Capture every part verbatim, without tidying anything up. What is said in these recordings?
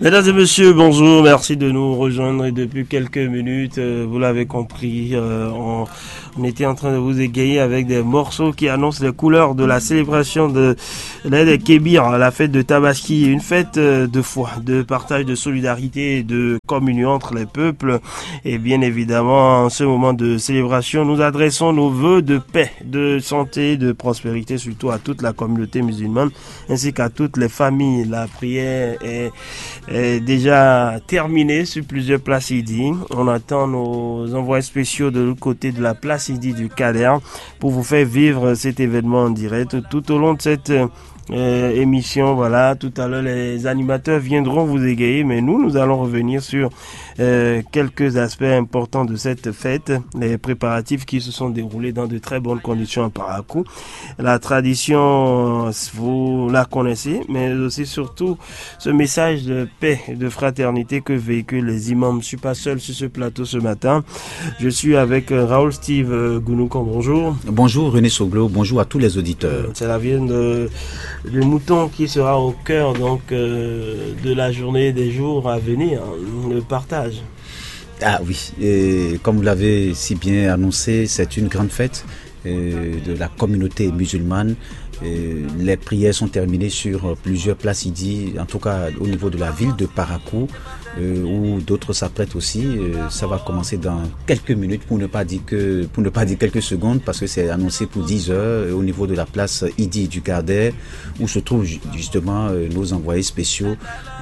Mesdames et messieurs, bonjour, merci de nous rejoindre. Et depuis quelques minutes, euh, vous l'avez compris, euh, on, on était en train de vous égayer avec des morceaux qui annoncent les couleurs de la célébration de l'Aïd el Kébir, la fête de Tabaski, une fête, euh, de foi, de partage, de solidarité et de communion entre les peuples. Et bien évidemment, en ce moment de célébration, nous adressons nos vœux de paix, de santé, de prospérité, surtout à toute la communauté musulmane, ainsi qu'à toutes les familles. La prière est, est déjà terminée sur plusieurs places Idi. On attend nos envoyés spéciaux de l'autre côté de la place Idi du Kader pour vous faire vivre cet événement en direct tout au long de cette, euh, émission. Voilà, tout à l'heure, les animateurs viendront vous égayer, mais nous, nous allons revenir sur, euh, quelques aspects importants de cette fête, les préparatifs qui se sont déroulés dans de très bonnes conditions à Parakou. La tradition, vous la connaissez, mais aussi surtout ce message de paix et de fraternité que véhiculent les imams. Je suis pas seul sur ce plateau ce matin. Je suis avec, euh, Raoul Steve, euh, Gounoukan. Bonjour. Bonjour René Soglo, bonjour à tous les auditeurs. C'est la viande, euh, du mouton qui sera au cœur donc, euh, de la journée des jours à venir, hein, le partage. Ah oui, et comme vous l'avez si bien annoncé, c'est une grande fête, euh, de la communauté musulmane. Euh, les prières sont terminées sur, euh, plusieurs places Idi, en tout cas au niveau de la ville de Parakou, euh, où d'autres s'apprêtent aussi. Euh, ça va commencer dans quelques minutes, pour ne pas dire que, pour ne pas dire quelques secondes, parce que c'est annoncé pour dix heures, euh, au niveau de la place Idi du Kader, où se trouvent ju-, justement, euh, nos envoyés spéciaux,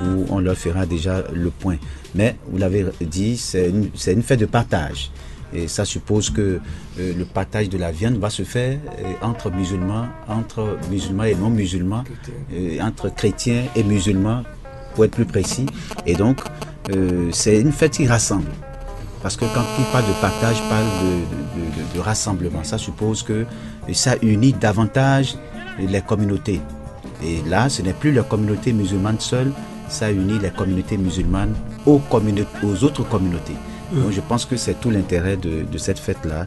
où on leur fera déjà le point. Mais, vous l'avez dit, c'est une, c'est une fête de partage. Et ça suppose que, euh, le partage de la viande va se faire, euh, entre musulmans, entre musulmans et non musulmans, euh, entre chrétiens et musulmans, pour être plus précis. Et donc, euh, c'est une fête qui rassemble. Parce que quand il parle de partage, il parle de, de- de- de- de rassemblement. Ça suppose que, euh, ça unit davantage les communautés. Et là, ce n'est plus les communautés musulmanes seules, ça unit les communautés musulmanes aux, communau- aux autres communautés. Donc je pense que c'est tout l'intérêt de, de cette fête-là.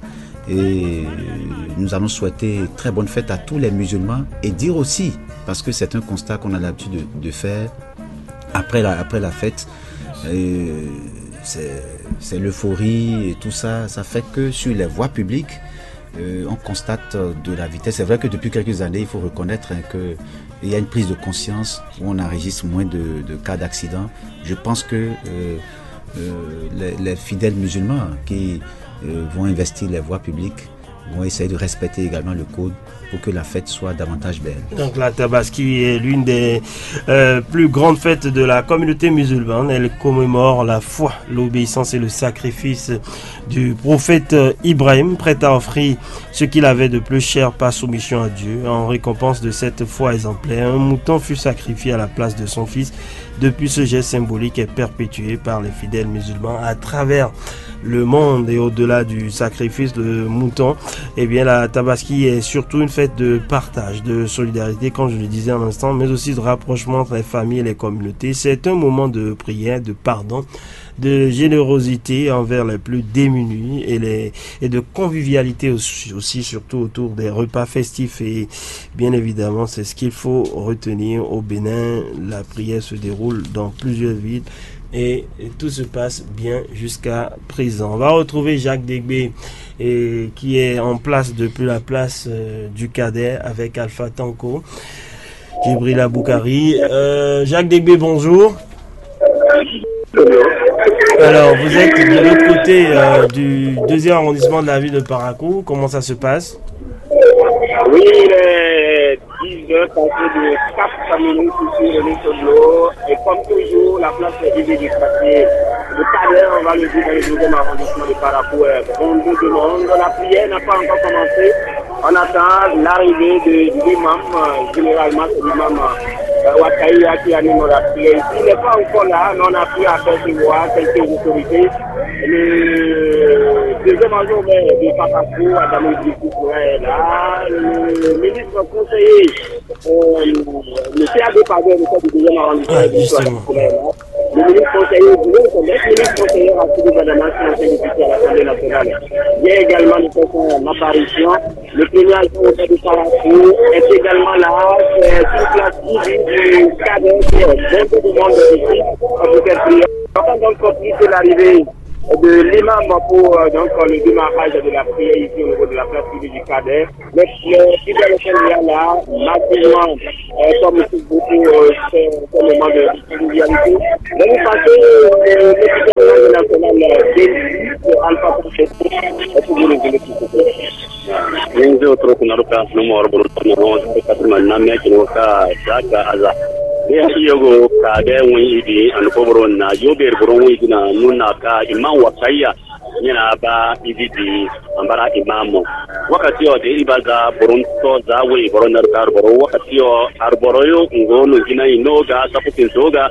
Et nous allons souhaiter très bonne fête à tous les musulmans et dire aussi, parce que c'est un constat qu'on a l'habitude de, de faire après la, après la fête, euh, c'est c'est l'euphorie et tout ça. Ça fait que sur les voies publiques, euh, on constate, euh, de la vitesse. C'est vrai que depuis quelques années, il faut reconnaître, hein, que il y a une prise de conscience où on enregistre moins de, de cas d'accident. Je pense que, euh, euh, les, les fidèles musulmans qui, euh, vont investir les voies publiques vont essayer de respecter également le code pour que la fête soit davantage belle. Donc la Tabaski est l'une des, euh, plus grandes fêtes de la communauté musulmane. Elle commémore la foi, l'obéissance et le sacrifice du prophète, euh, Ibrahim, prêt à offrir ce qu'il avait de plus cher par soumission à Dieu, en récompense de cette foi exemplaire. Un mouton fut sacrifié à la place de son fils. Depuis, ce geste symbolique est perpétué par les fidèles musulmans à travers le monde et au-delà du sacrifice de mouton. Eh bien, la Tabaski est surtout une fête de partage, de solidarité, comme je le disais à l'instant, mais aussi de rapprochement entre les familles et les communautés. C'est un moment de prière, de pardon, de générosité envers les plus démunis et, les, et de convivialité aussi, aussi, surtout autour des repas festifs. Et bien évidemment, c'est ce qu'il faut retenir au Bénin. La prière se déroule dans plusieurs villes et tout se passe bien jusqu'à présent. On va retrouver Jacques Degbé, et qui est en place depuis la place, euh, du Cadet avec Alpha Tanko. Djibril Aboukari. Euh, Jacques Degbé, bonjour. Alors, vous êtes de l'autre côté, euh, du deuxième arrondissement de la ville de Parakou. Comment ça se passe ? Oui, il est dix heures passées de quatre minutes ici, René Soglo. Et comme toujours, la place est vide du quartier. Le Cadet, on va le dire, dans le deuxième arrondissement de Parakou, est bondé de monde. La prière n'a pas encore commencé. On attend l'arrivée de l'imam, euh, généralement c'est l'imam, euh, Wakaïa qui anime la prière ici. Il n'est pas encore là, mais on a pu apercevoir quelques autorités. Le deuxième adjoint au maire de Papasco, Adamo Idrissou, est là. Le ministre conseiller, euh, le C A D Padre, le chef du deuxième arrondissement, ah, justement, est là. Le ministre conseiller, vous voyez, c'est neuf ministres conseillers à Sidi Badama qui ont été députés à l'Assemblée nationale. J'ai également le président Maparisien, le premier adjoint au maire de Parakou, est également là. C'est une place qui vit du cadre, c'est beaucoup de monde ici, pour faire prière. On va donc faciliter l'arrivée de l'imam pour euh, donc, le démarrage de la prière ici au niveau de la place publique du Cadet. Mais euh, si dans le là, massivement, euh, comme beaucoup euh, c'est c'est le moment de convivialité. Mais nous passons euh, le gouvernement national euh, de Alpha Concetti, est-ce que vous le voulez, s'il vous plaît? Ni n zé o toro kunna ɖo ka nú mɔ ɔrɔbɔnɔ tɔn nɔ ɔn kasi ma na mɛ kino ka da ka aza. Ni a iyo go ka de ŋun idi anu ko boro na yo be boro ŋun idi na nu na ka ima wa ka iya. Ni na ba idi di ambara imamo. Wakati ɔ de iba za boro tɔ za we boro na ka boro wakati ɔ arboro yo ngo no gina ino ga sakutin zoga.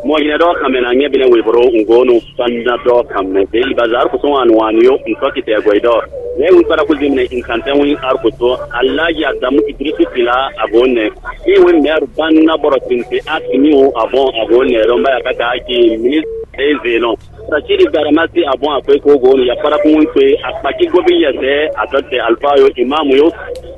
Mo yina do kamena nye bine we boro ngo no Sɔnna dɔ kan mɛ de Bazar kusɔn anu wani yo ntɔ kitɛ gɔidɔ. Ne un kpara kuzi mɛ in kan tɛn win ar kuso. Alaji Adamu Idrisu Tila agonɛ. Iwe mɛru banna bɔrɔ tinte atimiwo abɔn agonɛ lɔmba ya kaka aki ministre zenɔ. Sachiri Garamasi abɔn akwe ko gonu ya para kun kwe akpaki gobi yɛsɛ atɔtɛ alfa yo imamu yo.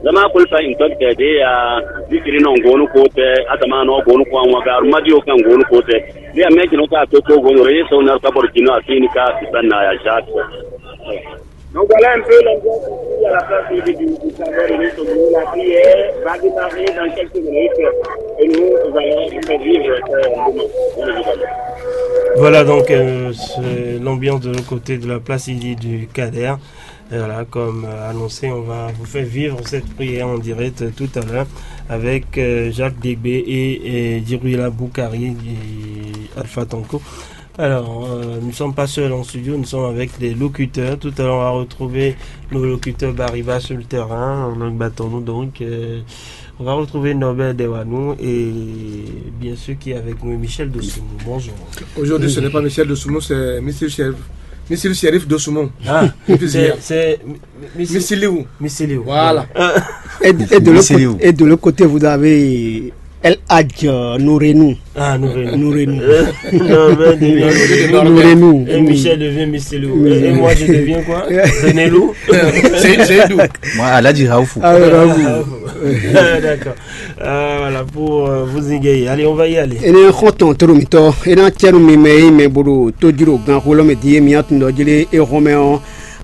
Zama kulfa intɔtɛ de ya zikiri nɔ gonu ko tɛ atama nɔ gonu ko anwa ga arumadi yo kan gonu ko tɛ. Bí a mɛ jɛnɛ ka to ko gɔngɔrɔ ye sɔn na ka bɔrɔ jino a fini ka sisan na ya ja. Donc voilà un peu l'ambiance ici à la place du du du Cameroun et nous sommes là qui est va démarrer dans quelques minutes et nous allons faire vivre ce moment. Bien évidemment. Voilà donc euh, c'est l'ambiance de l'autre côté de la place ici du Kader. Et voilà, comme euh, annoncé, on va vous faire vivre cette prière en direct euh, tout à l'heure avec euh, Jacques Degbe et, et Djibrila Boukari et Alpha Tanko. Alors, euh, nous ne sommes pas seuls en studio, nous sommes avec des locuteurs. Tout à l'heure, on va retrouver nos locuteurs Bariba sur le terrain, en langue battons-nous. Donc, euh, on va retrouver Norbert Dewanou et bien sûr qui est avec nous, Michel Dossounou. Bonjour. Aujourd'hui, ce n'est pas Michel Dossounou, c'est Michel Chérif, Michel Chérif Dossounou. Ah, c'est Missiliou. Missiliou. Voilà. Et, et de l'autre côté, vous avez El Hadj Nourenou. Ah, Nourenou. Nourenou. Nourenou. Et Michel devient Missiliou. Et moi, je deviens quoi? Renelou. C'est Seydou. Moi, Aladji Raoufou. Ah, Raoufou. D'accord. Ah, voilà, pour euh, vous égayer. Allez, on va y aller. Ene xɔntɔn toro mitɔ ena cɛnu mi mɛ yi mɛ bolo to jiro gan xolɔ mɛ di mi atun dɔ jele e xɔmɛ ɔ.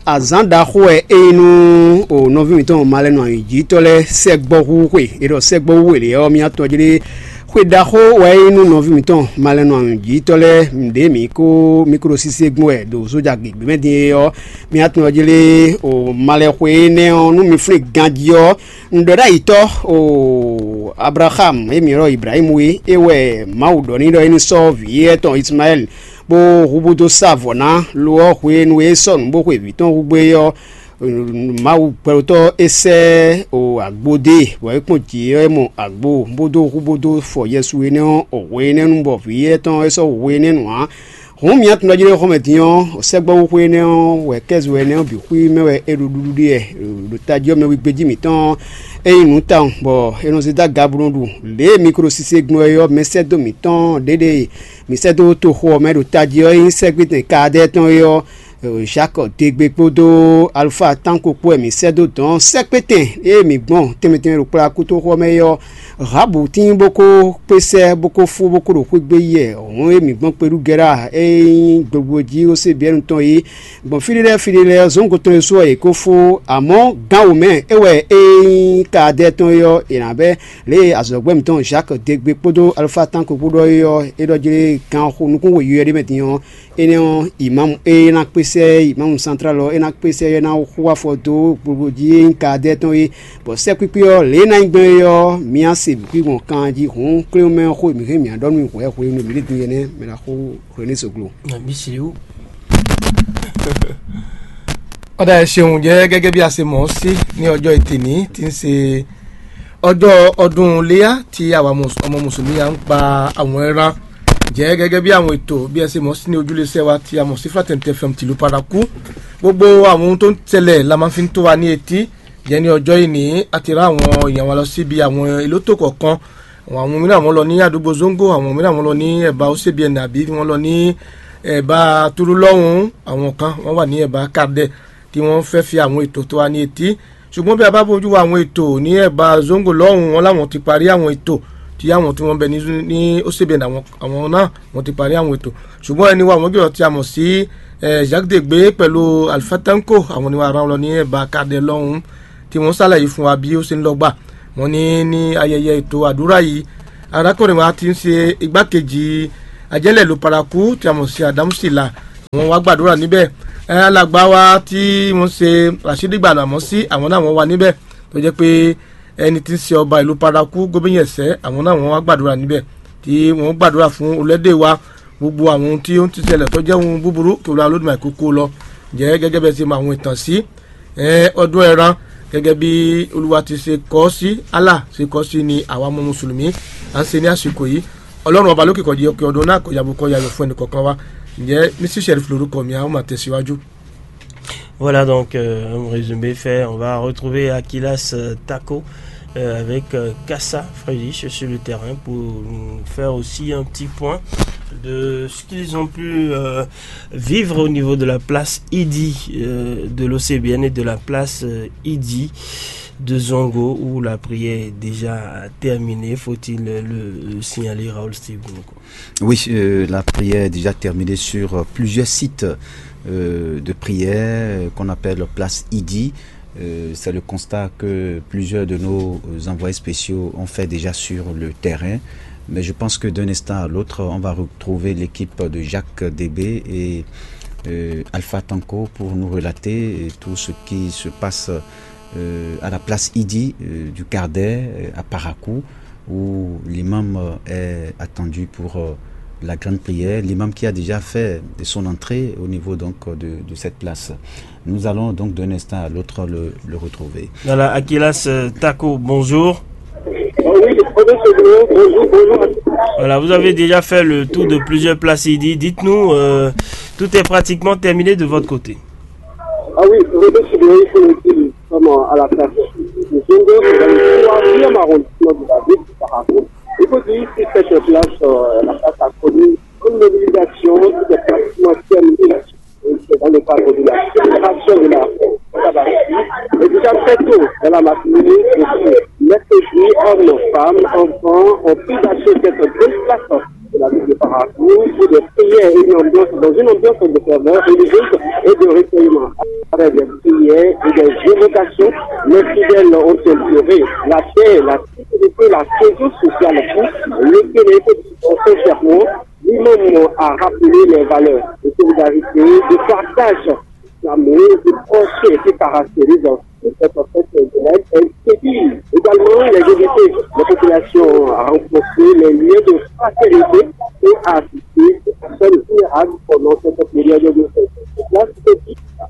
Azǎn ɖaxó wɛ é nyí nú o nɔví mǐtɔn malɛnu anyǔjítɔ́ lɛ́ɛ sɛgbɔ́ hú xwe. È ɖɔ sɛgbɔ́ hú xwe lě ɔ́, mì atɔn jlé xwe ɖaxó wɛ é nyí nú nɔví mǐtɔn malɛnu anyǔjítɔ́ lɛ́ɛ. Nǔɖé mǐ kó mǐ kó ɖo sísé gbɔn wɛ ɖo zója gěgbé mɛ din é ɔ́, mì atɔn jlé o malɛxwe énɛ́ ɔ́, nú mi flín ganjí ɔ́, un ɖɔ ɖ'ayǐtɔ́ o Ablaham e mǐ ylɔ́ Ibrahímu é, é wɛ Mawu ɖɔ n'i ɖɔ é ní sɔ́ vǐ étɔn Ismaɛ́li bó hu bó dó sá vɔ̌ ná. Lo ɔ́, hwenu e é sɔ́ nǔ bó xwe vǐ tɔn hú gbé é ɔ́, Mawu gbɛɖotɔ́ é sɛ́ o agbo dó e, bɔ é kpɔ́n jǐ ɔ́, é mɔ agbo, bó dó hu bó dó fɔ Yɛsu énɛ́ ɔ́ o hwe énɛ́ nu, bɔ vǐ étɔn é sɔ́ hu hwe énɛ́ nu ǎ. Hǔn mi atundɔjínɔ́xɔmɛ din ɔ́, sɛ́gbɔ́ xwé énɛ́ ɔ́ wɛ kɛ́zo énɛ́ ɔ́ bǐ xwí mɛ wɛ è ɖo ɖuɖu ɖe wɛ ɖo tají ɔ́ mɛ wígbéjí mǐtɔn. É nyí nǔ tawun, bɔ è nɔ zé dó aga bó nɔ ɖu lě e mi ko ɖo sise gbɔn wɛ ɔ́, mɛsɛ́dó mǐtɔn ɖěɖe e mǐ sɛ́ dó toxo ɔ́ mɛ ɖo tají ɔ́, é nyí sɛ́gbétɛn Kaadɛ́ɛ tɔn é ɔ́, Jakɔ́ɔ degbe kpódó Alufáa tánko kpó wɛ mǐ sɛ́ dó dɔ̌n sɛ́kpétɛn e mǐ gbɔn tɛnmɛ tɛnmɛ ɖo kplɔ́ akútoxo ɔ́ mɛ é ɔ́, Rahabu tíin bó kó kpé sɛ́ bó kó fú bó kó ɖo xwé gbé yi wɛ hǔn e mǐ gbɔn kpé ɖu gɛ́ ɖa e nyí gbogbo jí xó sé Biyɛ́nu tɔn é gbɔn fí ɖé lɛ́ɛ fí ɖé lɛ́ɛ zɔ̌ngo tɔn é su ɔ́, è ko fó, amɔ̌ gǎn wǒ mɛ é wɛ é nyí Kaadɛ́ɛ tɔn é ɔ́, è nǎ bɛ́ lě e azɔ̌gbɛ́ mǐtɔn Zaki degbe kpódó Alufáa tánko kpó ɖɔ é ɔ́, é ɖɔ jlé gǎn xo nukún wěyúyɛ́ ɖé mɛ din ɔ́, énɛ́ ɔ́, imamu e ná kpé sɛ́ imamu santrál ɔ́, é ná kpé sɛ́ é ná xo afɔ dó gbogbo jí e nyí Kaadɛ́ɛ tɔn é, bɔ sɛ́kpíkpí ɔ́, lě e é ná nyí gbɔn é ɔ́, mǐ á se bǐ gbɔn kan jí hǔn, kléwún mɛ ɔ́ xó e mǐ hɛn mǐ ná ɖɔ nú mi hwɛ̌ hwenu e mǐ ɖe din é nɛ́, mɛ ná xó hwenu e soglo. Bísíwú. Ɔ́ ɖa ɛ ṣeun jẹ́ gẹ́gẹ́ bí a ṣe mọ̀ ọ́ sí ní ọjọ́ ìtìní tí ń ṣe ọjọ́ ọdún léyà tí àwa ọmọ mùsùlùmí à ń pa àwọn ẹran jẹ́ gẹ́gẹ́ bí àwọn ètò bí ẹ ṣe mọ̀ sí ní ojúlé iṣẹ́ wa tí a mọ̀ sí Fraternité F M tìlú Parakou. Gbogbo àwọn ohun tó ń tẹ̀lẹ̀ la máa fi ń tó wa ní etí. Jẹ́ ní ọjọ́ ìní a ti rán àwọn èèyàn wa lọ síbi àwọn ìlótò kọ̀ọ̀kan Àwọn mìíràn wọ́n lɔ ní àdúgbò Zongo, àwọn mìíràn wọ́n lọ ní ẹ̀bá Ósebíẹ̀nì àbí wọ́n lọ ní ẹ̀bá Túlú lọ́hùn-ún, àwọn kan wọ́n wà ní ẹ̀bá Kardɛ tí wọ́n fẹ́ fi àwọn ètò tó wá ní etí. Ṣùgbọ́n bí a bá bójú wo àwọn ètò ní ẹ̀bá Zongo lọ́hùn-ún, wọn láwọn ti parí àwọn ètò tí àwọn tí wọ́n bẹ ní ní Ósebíẹ̀nì àwọn àwọn náà wọ́n ti parí àwọn ètò. Ṣùgbọ́n ẹni wa àwọn jùlọ tí a mọ̀ sí Jacques Degbe pẹ̀lú Alpha Tanko, àwọn ni wọ́n rán lọ ní ẹ̀bá Kardɛ lọ́hùn-ún tí wọ́n ṣàlàyé fún wa bí ó ṣe ń lọ gbà. Wọ́n ní ní ayẹyẹ ètò àdúrà yìí, arákùnrin wa ti ń ṣe igbákejì ajẹ́lẹ̀ ìlú Paraku tí a mọ̀ sí Adamu Sila, wọ́n wá gbàdúrà níbẹ̀. Alàgbà wa tí wọ́n ṣe Rashidi Gbàlámọ́ sí, àwọn náà wọ́n wá níbẹ̀, tó jẹ́ pé ẹni tí ń ṣe ọba ìlú Paraku, gómìnà ẹ̀sẹ̀, àwọn náà wọ́n wá gbàdúrà níbẹ̀, tí wọ́n gbàdúrà fún olóde wa, gbogbo àwọn ohun tí ó ń ti ṣẹlẹ̀ tó jẹ́ ohun búburú kí Olúwa Olódùmarè kó kó lọ. Ǹjẹ́ gẹ́gẹ́ bẹ́ẹ̀ ṣe mọ àwọn ìtàn sí ọdún ẹran, gẹ́gẹ́ bí Olúwa ti ṣe kọ́ sí, Allah ṣe kọ́ sí ni àwa ọmọ mùsùlùmí à ń ṣe ní àsìkò yìí. Ọlọ́run ọba lókè kọjí ọkẹ ọdún náà kọjá bó kọjá yọ fún ẹnì kọ̀ọ̀kan wa. Ǹjẹ́ Mr Sheriff lórúkọ mi, a ó máa tẹ̀síwájú. Voilà donc euh, un résumé fait. On va retrouver Akilas euh, Tako euh, avec euh, Kassa Friedrich sur le terrain pour nous faire aussi un petit point de ce qu'ils ont pu euh, vivre au niveau de la place Idi euh, de l'O C B N et de la place euh, Idi de Zongo où la prière est déjà terminée, faut-il le, le signaler, Raoul Steve. Oui, euh, la prière est déjà terminée sur euh, plusieurs sites euh, de prière euh, qu'on appelle place Idi. Euh, c'est le constat que plusieurs de nos envoyés spéciaux ont fait déjà sur le terrain. Mais je pense que d'un instant à l'autre, on va retrouver l'équipe de Jacques Débé et euh, Alpha Tanko pour nous relater tout ce qui se passe euh, à la place Idi euh, du Kardé euh, à Parakou, où l'imam euh, est attendu pour euh, la grande prière, l'imam qui a déjà fait son entrée au niveau donc de, de cette place. Nous allons donc d'un instant à l'autre le, le retrouver. Voilà, Akilas euh, Tako, bonjour. Oui, bonjour, bonjour. Voilà, vous avez déjà fait le tour de plusieurs places Idi. Dites-nous, euh, tout est pratiquement terminé de votre côté. Ah oui, René Chibéry, il faut le dire, nous sommes à la place de Zongo, dans le troisième arrondissement de la ville de Parakou. Il faut dire que cette place, euh, la place a connu une mobilisation qui est pratiquement terminée là-dessus. Et c'est dans le cadre de la célébration de la Tabaski. Et déjà très tôt dans la matinée, depuis mercredi, hommes, femmes, enfants ont pris d'assaut cette belle place de la ville de Parakou pour des prières et une ambiance, dans une ambiance de ferveur religieuse et de recueillement. Après des prières et des évocations, les fidèles ont imploré la paix, la sécurité, la cohésion sociale pour le Sénégal. Sincèrement, lui-même a rappelé les valeurs de solidarité, de partage, l'amour, de proximité qui caractérise cette fête de l'aide. Elle séduit également les invités, les populations à renforcer les liens de fraternité et à assister ces personnes vulnérables pendant cette période de fête. Là, c'est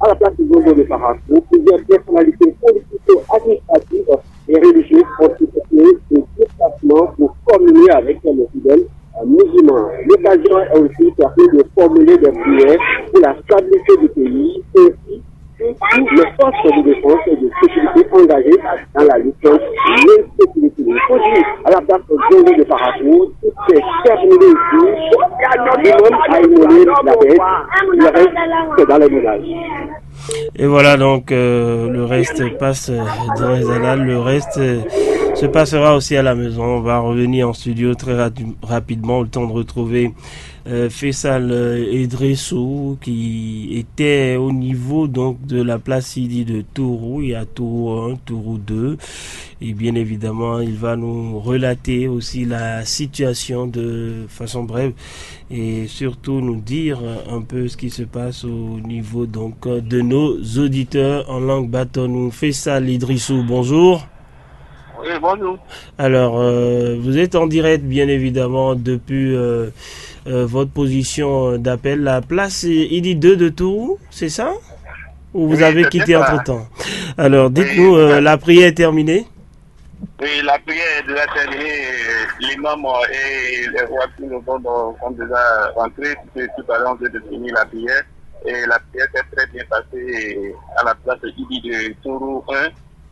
à la place du Zongo de Parakou, plusieurs personnalités politico-administratives et religieuses ont effectué des déplacements pour communier avec les fidèles musulmans. L'occasion est aussi permis de formuler des prières pour la stabilité du pays, ainsi que toutes les forces de défense et de sécurité engagées dans la lutte contre l'insécurité. Il faut dire, à la place de Zongo de Parakou, tout est terminé ici. L'imam a immolé la bête, le reste, c'est dans les ménages. Et voilà donc euh, le reste passe euh, dans les annales, le reste euh, se passera aussi à la maison. On va revenir en studio très ra- rapidement, le temps de retrouver euh, Faisal euh, Idrissou qui était au niveau donc de la place Idi de Tourou. Il y a Tourou un, Tourou deux. Et bien évidemment, il va nous relater aussi la situation de façon brève et surtout nous dire un peu ce qui se passe au niveau donc de nos auditeurs en langue bâtonne. Faisal Idrissou, bonjour. Oui, bonjour. Alors, euh, vous êtes en direct, bien évidemment, depuis euh, euh, votre position d'appel. La place Idi deux de Tourou, c'est ça ? Ou vous Oui, avez c'est quitté ça. Entre-temps ? Alors, dites-nous, Oui, euh, c'est la prière est terminée ? Et la prière est déjà terminée. L'imam et les rois qui nous ont donc, sont déjà rentrés. Tout, tout à l'heure, on vient de finir la prière. Et la prière s'est très bien passée à la place Idi de Tourou un.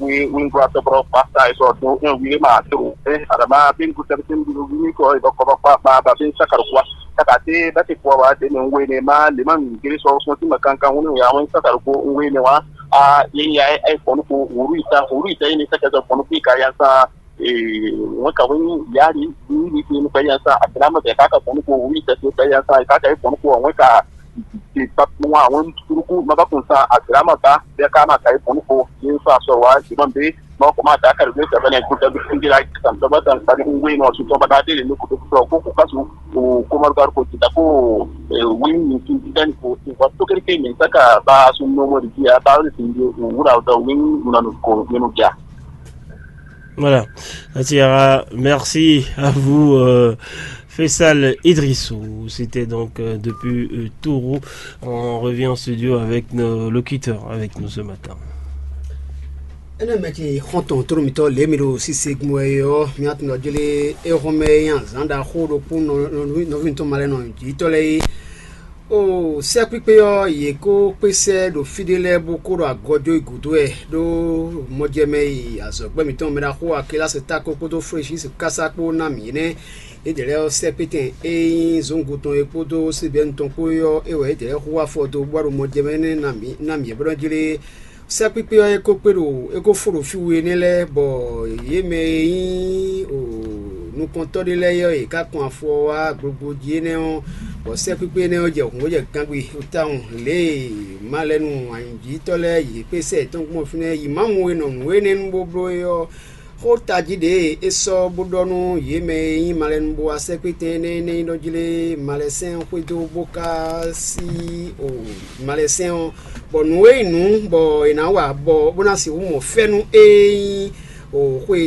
we wingua tɔkɔrɔ kpasa e sɔ do en wi ma to e adama bin ku tɛbi tin bi ni ko e dɔkɔ ba kpa ba ba bin sakaru kwa saka te ba te kwa wa de ne we ne ma le ma mi gere sɔ sɔ ti ma kankan woni ya wani sakaru ko we ne wa a ye ya e fɔnu ko wuru ita wuru ita ye ne saka sɔ fɔnu ko ka ya sa e wọn ka wani yari ni ni ni ka ya sa adama ka ka fɔnu ko wuru ita ka ya sa ka ka fɔnu ko wọn ka ti pa wọn wọn turuku ma ba kun sa adama ba ya ka ma ka fɔnu ko ye sa sɔ wa ti ma be ma ko ma da ka de sɛbɛn ne kuta bi singira san tɔgba san san ngwe no su tɔgba da de ne ko ko ko ko kasu ko ko mar gar ko ti da ko wi ni ti dan ko ti wa to kere ke ni saka ba su no mo di ya ba ni ti wura da wi na no ko ni no ja. Voilà. Atiara, merci à vous, euh, Faisal Idrissou. C'était donc euh, depuis euh, Tourou. On revient en studio avec nos locuteurs avec nous ce matin. Ene mɛ ce xɔntɔn tónúmitɔ lě mi ɖo sise gun wɛ ɔ́, mi atun ɖɔ jlé é xɔn mɛ é nyí azǎn ɖaxó ɖokpó nɔví tɔn ma lɛ nɔ jǐtɔ́ lɛ́ɛ é. O sɛ́kpíkpé ɔ́, yě kó kpé sɛ́ ɖo fí ɖé lɛ́ɛ bó kó ɖo agɔjó yi gǔdo wɛ ɖó mɔjɛmɛ yi azɔ̌gbɛ́ mǐtɔn mɛ ɖaxó Akelásɩ tákó kpódó Flesísi kásá kpó ná mǐ énɛ́. Yědɛɛ lɛ́ɛ ɔ́, sɛ́kpétɛn e nyí zǒngo tɔn é kpódó síbɛ́nu tɔn kpó é ɔ́, é wɛ yědɛɛ lɛ́ɛ xo wá afɔ dó bó wá ɖo mɔjɛmɛ énɛ́ ná mǐ ná mǐ é blɔ́ jlé. Sɛ́kpíkpé ɔ́, é ko kpé ɖo é ko fó ɖo fí we énɛ́ lɛ́ɛ, bɔ yě mɛ e nyí nukɔntɔ́ ɖé lɛ́ɛ é ɔ́, yě ká kɔn afɔ ɔ́ wá gbogbo jí énɛ́ ɔ́, bɔ sɛ́kpíkpé énɛ́ ɔ́ jɛ hǔn bó jɛ gangbé tawun. Lě e malɛnu anyǔjítɔ́ lɛ́ɛ yě kpé sɛ yětɔn gbɔn fínɛ́ yi Mawu e nɔ nǔ énɛ́ nu bó bló é ɔ́, xó tají ɖě e é sɔ́ bó ɖɔ nú yě mɛ e nyí malɛnu bó wá sɛ́kpétɛn énɛ́ énɛ́ nyí ɖɔ jlé malɛsɛn xwedó bó ká sí o malɛsɛn ɔ́, bɔ nǔ e nyí nǔ bɔ è nǎ wa bɔ bó ná sixú mɔ fɛ́nú e nyí o xwe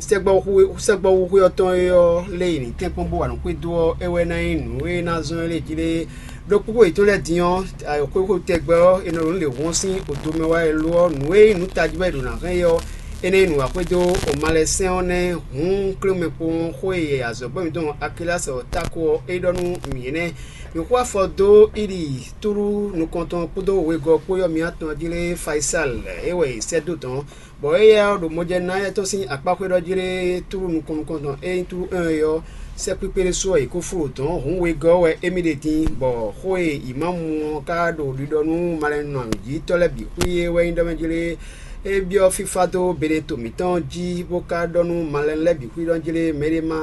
sɛgbɔwúxwe sɛgbɔwúxwe ɔ́ tɔn é ɔ́ lé yi ní tɛ́nkpɔ́n bó wa nǔ xwedó ɔ́, é wɛ ná nyí nǔ e ná zɔ́n é lé jí lé. Ɖo kpókpó yětɔn lɛ́ɛ din ɔ́, xwéxwé tɛgbɛ ɔ́, è nɔ ɖo nǔ lě hɔn sín odomɛ wá e lo ɔ́, nǔ e nyí nǔ tají wɛ è ɖo nǎ hɛn é ɔ́, énɛ́ nyí nǔ wa xwedó malɛsɛn ɔ́ nɛ́ hǔn klémɛ kpowun xó e azɔ̌gbɛ́ mǐtɔn Akilási ɔ́ táko ɔ́, é ɖɔ nú mǐ énɛ́. Mǐ xo afɔ dó Iɖi tlú nukɔntɔn kpódó wegɔ́ kpó yɔ́ mǐtɔn jí lé Fayisal é wɛ è sɛ́ dó dɔ̌n, bɔ éyɛ́ ɔ́ ɖo mɔjɛnúná éyɛ́ tɔn sín akpáxwé ɖɔ jlé tlú nukɔn nukɔntɔn e nyí tlú un é ɔ́, sɛ́kpíkpé ɖésú ɔ́, yě kó fó ɖo dɔ̌n hǔn wegɔ́ ɔ́ wɛ émí ɖe din, bɔ xó e Imamu ɔ́ ka ɖo ɖiɖɔ nú malɛnɔjítɔ́ lɛ́ɛ bǐ xwí é wɛ nyí ɖɔ mɛ jlé é byɔ́ fífá dó beɖeto mǐtɔn jí, bó ka ɖɔ nú malɛnu lɛ́ɛ bǐ xwí ɖɔ jlé mɛɖé má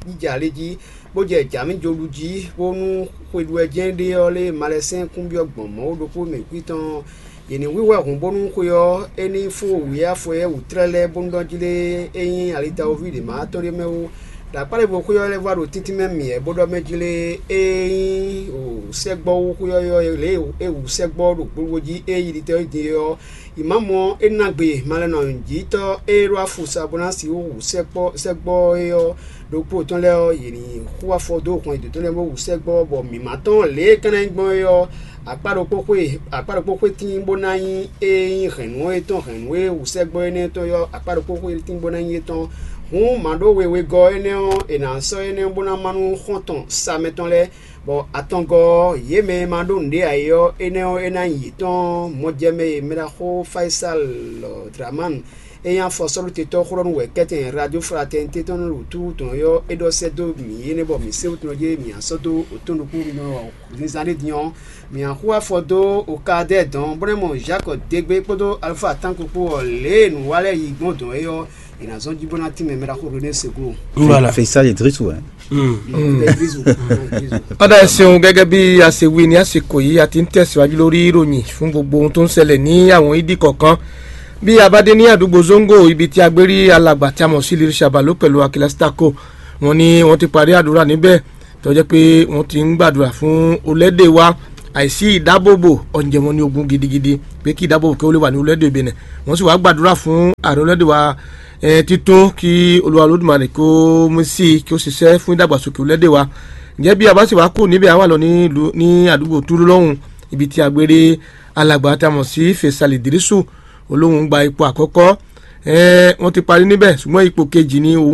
jija lé jí, bó jɛ jǎmíjolu jí, bónú xwe ɖu wɛ jɛ́n ɖe ɔ́ lé malɛsɛ́n kúnbyɔ́ gbɔn Mawu ɖokpó mɛ kwí tɔn ɔ́, yě ní hwíhwɛ́ hǔn bónú xwe ɔ́ é ní fó wǐ afɔyɛ́ wǔtlɛ́ lɛ́ɛ bónú ɖɔ jí lé é nyí alitawóví ɖě ma tɔn ɖé mɛ wú. Ɖo akpá ɖěvo xwé ɔ́ lɛ́ vɔ ɖo tíntín mɛ mì wɛ bó ɖɔ mɛ jí lé é nyí sɛ́gbɔ́ wú xwé ɔ́ lě e é wǔ sɛ́gbɔ́ ɖo gbogbo jí é yi ɖitɛ́ din é ɔ́, Imamu ɔ́, é ná gbe malɛnɔjǐtɔ́ e ɖó afusa bó ná sixú hu sɛ́kpɔ́ sɛ́gbɔ́ é ɔ́ ɖokpó tɔn lɛ́ɛ ɔ́, yě ní xú afɔ dó hɔn yětɔn lɛ́ɛ bó hu sɛ́gbɔ́, bɔ mǐ ma tɔ́n lě e é ka ná nyí gbɔn é ɔ́, akpá ɖokpó xwé akpá ɖokpó xwé tíin bó ná nyí é nyí hɛ̌nnu é tɔn hɛ̌nnu e hu sɛ́gbɔ́ énɛ́ tɔn é ɔ́, akpá ɖokpó xwé tíin bó ná nyí étɔn. Hǔn mǎ ɖó wewegɔ́ énɛ́ ɔ́, è nǎ sɔ́ énɛ́ bó ná má nú xɔ́ntɔn sa mɛtɔn lɛ́ɛ, bɔ atɔngɔ́ ɔ́, yě mɛ e ma ɖó nǔɖé ǎ é ɔ́, énɛ́ ɔ́, é ná nyí yětɔn. Mɔjɛmɛ e mɛɖaxó Fayisal Dramanu É nyí afɔsɔ́ɖutetɔ́ xlɔ́ nú wɛ̌kɛ́tɛn Radio Fraternité tɔn nú wǔtu tɔn ɔ́, é ɖɔ sɛ́ dó mǐ énɛ́ bɔ mǐ se wú tɔn jí mǐ sɔ́ dó otɔ́n ɖokpó nɔ zinzán ɖé din ɔ́, mǐ xú afɔ dó Okadɛ́ dɔn, bó nɔ́ mɔ Jacques Dégbé kpódó Alpha Tanko kpó ɔ́, lě e nǔ wa lɛ́ɛ yi gbɔn dɔn é ɔ́, è nǎ zɔ́n jí bó ná tínmɛ mɛ ɖaxó René Seglo. Voilà. Fesa de Dris, ouais. Ɔda, ẹ ṣeun. Gẹ́gẹ́ bí a ṣe wí ní àsìkò yìí, a ti ń tẹ̀síwájú lórí ìròyìn fún gbogbo ohun tó ń ṣẹlẹ̀ ní àwọn ìdí kọ̀ọ̀kan. Bí a bá dé ní àdúgbò Zongo, ibi tí a gbé rí alàgbà tí a mọ̀ sí Lil Shabalo pẹ̀lú Akilas Tako, wọ́n ní wọ́n ti parí àdúrà níbẹ̀, tó jẹ́ pé wọ́n ti ń gbàdúrà fún olẹ́dẹ̀ wa. Àìsí ìdábòbò ọ̀njẹ̀ wọn ní ogun gidigidi, pé kí ìdábòbò kí ó lè wà ní olẹ́dẹ̀ Benin. Wọ́n sì wá gbàdúrà fún ààrẹ olẹ́dẹ̀ wa, eh, títún, kí Olúwa Olódùmarè kó mú sí i, kí ó ṣiṣẹ́ fún ìdàgbàsókè olẹ́dẹ̀ wa. Ǹjẹ́ bí a bá sì wá kú níbẹ̀, a wà lọ ní ìlú, ní àdúgbò Túlú lọ́hùn, ibi tí a gbé rí alàgbà tá a mọ̀ sí Fèsàlì Dírísù, olóhùn gba ipò àkọ́kọ́. Eh, wọ́n ti parí níbẹ̀, ṣùgbọ́n ipò kejì ni òun